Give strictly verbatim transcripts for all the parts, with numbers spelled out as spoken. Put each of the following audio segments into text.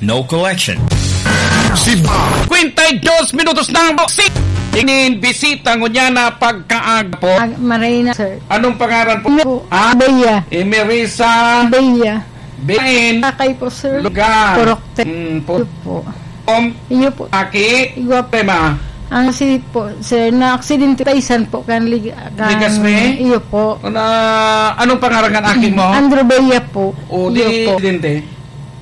No collection. Si Ba- Kwenta y dos minutos na ang boxing. Inin bisita ngunyan na pagkaag po. Ah, Marina, sir. Anong pangaran po? Ano po? Ah? Bea. Emerisa. Bea. Bain. Kakay po, sir. Lugar. Purokte. Mm, po. Iyo po. Om. Iyo po. Aki. Igwa po. Tema. Ang si po, sir, na aksidente taisan po kan lig-, kan Ligas mi? Iyo po. Na, anong pangaran kan aki mo? Andrew Bea po. O, Iyo di po. aksidente?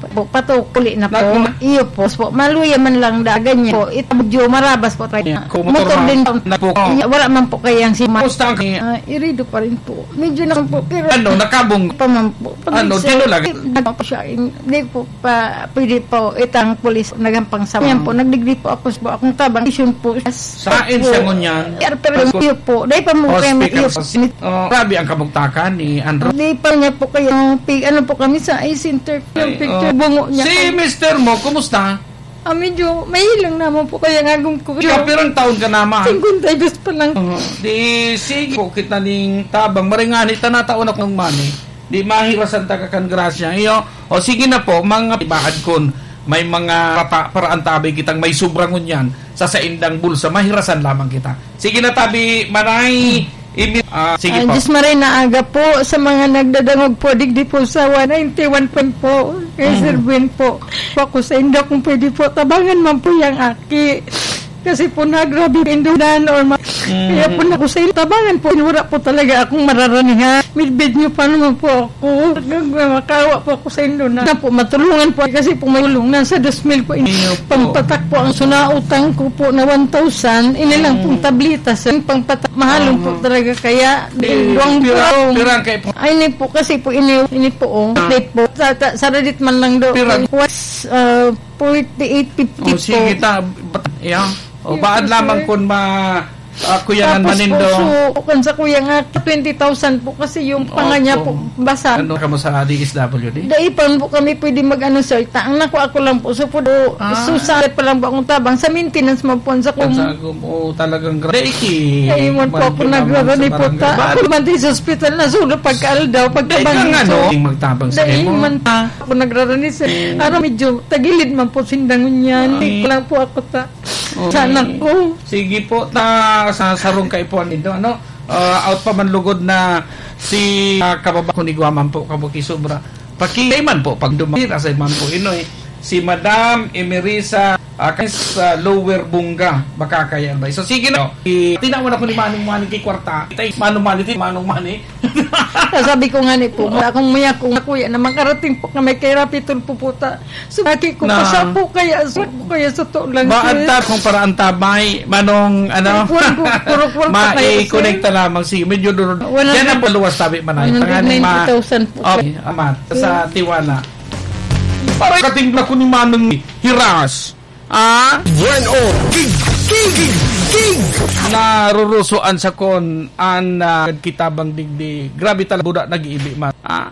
Po, patukuli na po. Nagmo- Iyo po, po. Maluya man lang dagan niya po. Ito medyo marabas po tayo. Yeah, kung motor Motor ma-, din po. nagpo- Iya, wala man po kayang si ma- Kumusta ang Ah, irido pa rin po. Medyo na po, pero Ano, nakabong? pa man po. Pag Ano, nagsa- tino lang? Nagpa po siya, hindi po pa, pwede po itang pulis nagampang sa Ah. Yan po, nagdigdi po ako sa akong tabang. Isyon po. Saan siya ngunyan? Pero Pagko- iyo po, dahil pa mo kayo Hospital. iyo po. Oh, grabe ang kabugtakan ni Andrew. Hindi pa niya po kayo, pi-, ano po kami sa eye center, yung Ay, picture, oh. bungo niya. Si mister mo, kumusta? Ah, medyo mahilang naman po kaya nga gum-, Siya, pirang taon ka naman? Singkwenta y dos pa lang. Oo. Di, sige po, kita ning tabang. Maringani, ta nataon ako ng money. Di mahirasan ta ka kan grasya. Iyo, o sige na po, mga ibahad kun may mga rata, paraan tabi kitang may sobra ngunyan sa saindang bulsa, mahirasan lamang kita. Sige na tabi, Manay, imi-, ah, sige Ah, po. Diyos maray na aga po sa mga nagdadangog po, digdi po sa one ninety-one point po, kay Sir Mm. Gwen po. Po ako sa inda, kung pwede po, tabangan man po yang aki. Kasi po, nagrabe indunan or ma-, Mm. kaya po na ko sa inyo, tabangan po, wala po talaga akong mararanihan. Midbid niyo pa naman po ako. Nagmamakawa po ako sa inyo na, na po, matulungan po. Kasi po, may tulong na sa dos mil po. Iyo po. Pampatak po ang sunautang ko po na one thousand. Ini lang pong Mm. tableta, sir. Pampatak, mahalon po Aha. talaga. Kaya, Eh, duwang pira, duwang. pira ang kay po. Ay, ini po, kasi po, ini, ini po, oh. Ah. Hindi po. Sa, sa, saradit man lang do. Pira. Was, ah, forty-eight fifty Oh, po. sige, ta-, bat-, yeah. O, Yes, baad sir. lamang kun ma-, ah, kuya Tapos ngan manindo. po, so, kung sa kuya nga, twenty thousand po kasi yung panga niya Opo. po, basa. Ano ka mo sa D S W D? Dai pa po kami pwede mag-ano, sir. Ta-, ang nakuha ko lang po, so po, Ah. susa pa lang po akong tabang sa maintenance man po sa Ang kum-, sa kum-, oh, talagang gra-, Dai ki, Dai man po man ako kinamang nagrarani sa po barangay. ta. Baad Ako man di sa ospital na sulo pagkaaldaw, Dai pagkabangin. kang ano, So, yung magtabang sa dai imo. man ta. Ako nagrarani, sir. Mm. Ano, medyo tagilid man po sindangon yan. Ay. Kulang po ako ta. Okay. Sa anak ko. Sige po, ta, sa sarong kaipuhan nito, ano? Ah, out pa man lugod na si, ah, kababa ko ni Guaman po, kabuki sobra. Pakigay man po, pag dumapira sa man po, inoy. Si Madam Emerisa, ah, kay sa Lower Bunga, baka kaya ba? So, sige na. I-, tinawan ako ni Manong Manny kay kwarta. Itay, Manong Manny, ti-, Manong Manny. Sabi ko nga ni po, wala akong muya kung kuya na makarating po kami kay Rapi Tulfo po ta. So, lagi ko Na. pa siya po kaya, so, po kaya sa to lang, Ba, sir. Anta, kung para anta, may, manong, ano, Kuwan ko, kurok-kurok pa kayo, sir. mai-connect na lamang si, medyo duro-, Wala Yan na. ang paluwas, sabi, manay. Panganing ma-, One hundred ninety thousand po, oh, sir. Amat, sa Yes. Tiwala. Para kating na ko ni Manong Hiras. Ah? Bueno, gig, gig, gig, gig. Narurusoan sa kon, an, ah, kita bang digdi. Grabe talaga, buda, nag-iibi, man. Ah?